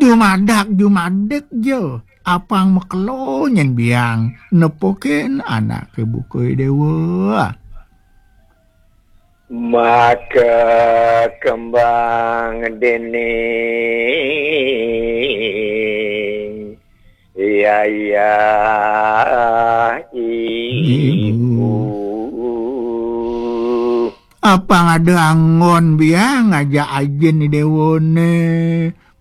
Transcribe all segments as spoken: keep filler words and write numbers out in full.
Jumadak jumadik ja, apang makelo nyen biang nepukin anak ke bukai dewa. Maka kembang dene, iya, iya, ibu. Apang ada anggon biang aja ajin di dewane.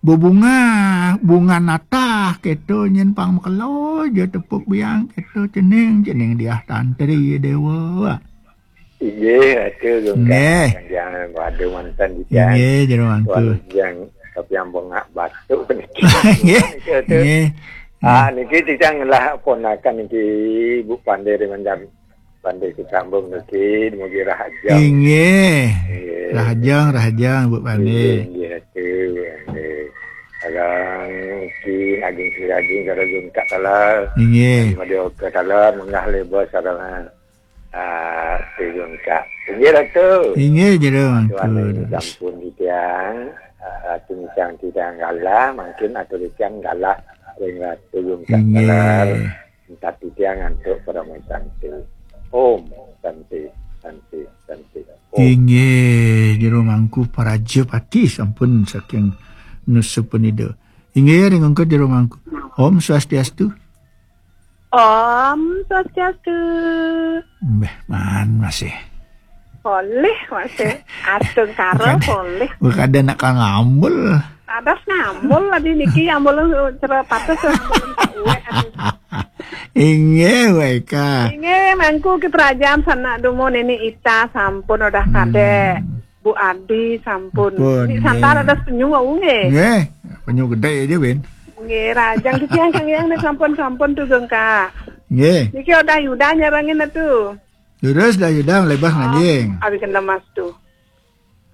Bebunga, bunga natah keto nyen pang makelo ja tepuk biang keto cening, cening diah tantri dewa. Inggih, Ratu Gungkak. Inggih. Jangan waduh mantan di Inggih, jero mangku. Waduh, yang tapi yang bengak batuk niki. Inggih. Niki, Ratu. Inggih. Ah, niki titiang lah ponakan niki Ibu Pande Rimandan. Pande Kecambung niki, dumugi rahajeng. Inggih. Inggih. Rahajeng, rahajeng, Bu Pande. Inggih, inggih, Ratu, inggih. Sareng niki ageng siraging, sareng Gungkak taler. Inggih. Madya Oka taler, menggah leba sareng, ah, Ratu Gungkak. Inggih, Ratu. Inggih, jero mangku. Tuan ini sampun titiang, ah, Ratu titiang galah, mungkin atur titiang galah ring Ratu Gungkak taler. Inggih. Minta titiang antuk Parama Santi. Om Santi, Santi, Santi. Om. Inggih, jero mangku Parajapati sampun saking Nusa Penida. Inggih, ring ungkur jero mangku. Om Swastiastu. Om Swastiastu. Mbeh, maan masih. Polih masih. Atung karo polih. Bukan ada nak ngambul. Adas ngambul tadi niki, ambul cera patus, ambul uwek. Inggih, Weka. Inggih, mangku ki Prajan sanak dumun ini Ita sampun udah kadek. Bu Adi sampun. Pun, Ini santar nggih. Ada penyu wau nggih. Nggih, penyu gede aja, Ben. Nggih, rajang titiang Kang Yang nih sampun-sampun tuh, Gengka. Nggih. Niki udah Yuda nyerangin tuh. Terus dah Yuda lebah nganjing. Abi kena mas tuh.